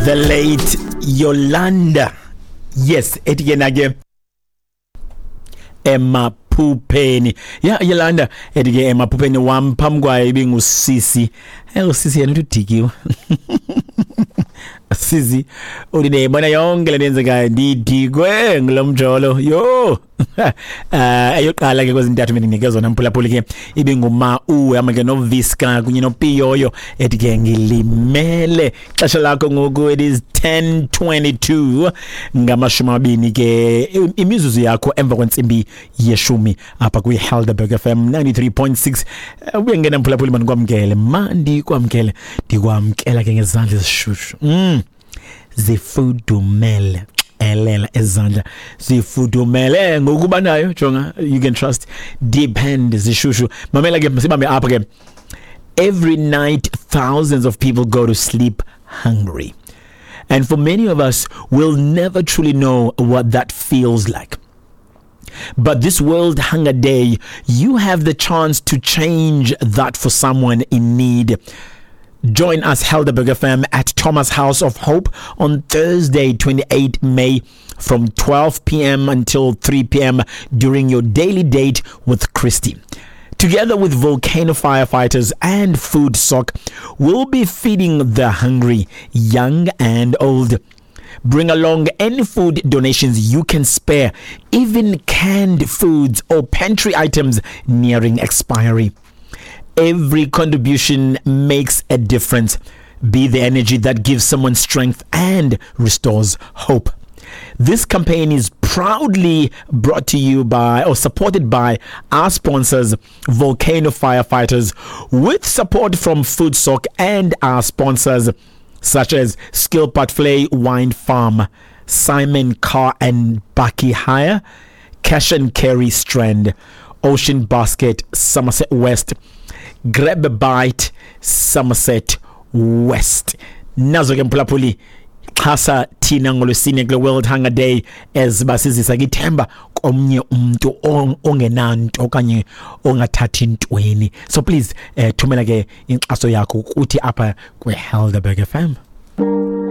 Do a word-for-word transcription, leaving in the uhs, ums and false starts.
The late Yolanda. Yes, ethi ke na ke emaphupheni. Ya Yolanda ethi ke emaphupheni wam, phambi kwayo ibingusisi. Eh usisi yena uthi udikiwe. Sisi uthi ndiyayibona yonke le nto yenzekayo, ndidikwe ngulo mjolo yho. Eh eyoqala ke kwezintathu bendinike zona, mphulaphuli, ke ibinguma uhamba ke noViska kunye noPiyoyo ethi ke ngilimele. Xesha lakho ngoku, it is ten twenty-two, ngamashumi amabini ke imizuzu yakho emva kwentsimbi yeshumi apha kwi-Helderberg F M ninety-three point six. Ubuye ngena, mphulaphuli, mandikwamkele, mandikwamkele, ndikwamkela ke ngezandla ezishushu, mm zifudumele, elela ezandla zifudumele ngokuba nayo. Jonga, you can trust, depend, zishushu. Mamela ke, sibambe apha ke. Every night thousands of people go to sleep hungry, and for many of us, we'll never truly know what that feels like. But this World Hunger Day, you have the chance to change that for someone in need. Join us, Helderberg F M, at Thomas House of Hope on Thursday, twenty-eight May from twelve p m until three p m during your daily date with Christy. Together with Volcano Firefighters and Food Sock, we'll be feeding the hungry, young and old. Bring along any food donations you can spare, even canned foods or pantry items nearing expiry. Every contribution makes a difference. Be the energy that gives someone strength and restores hope. This campaign is proudly brought to you by or supported by our sponsors, Volcano Firefighters, with support from Food Sock and our sponsors such as Skilpadvlei Wine Farm, Simon Car and Bakkie Hire, Cash and Carry Strand, Ocean Basket, Somerset West, Grab a Bite, Somerset West. Nazo ke, mphulaphuli, xhasa thina ngolwesine kule World Hunger Day as basizisa kithemba komnye umuntu ongenanto okanye ongathathi ntweni. So please, eh thumela ke inkxaso yakho kuthi apha kwe Helderberg F M.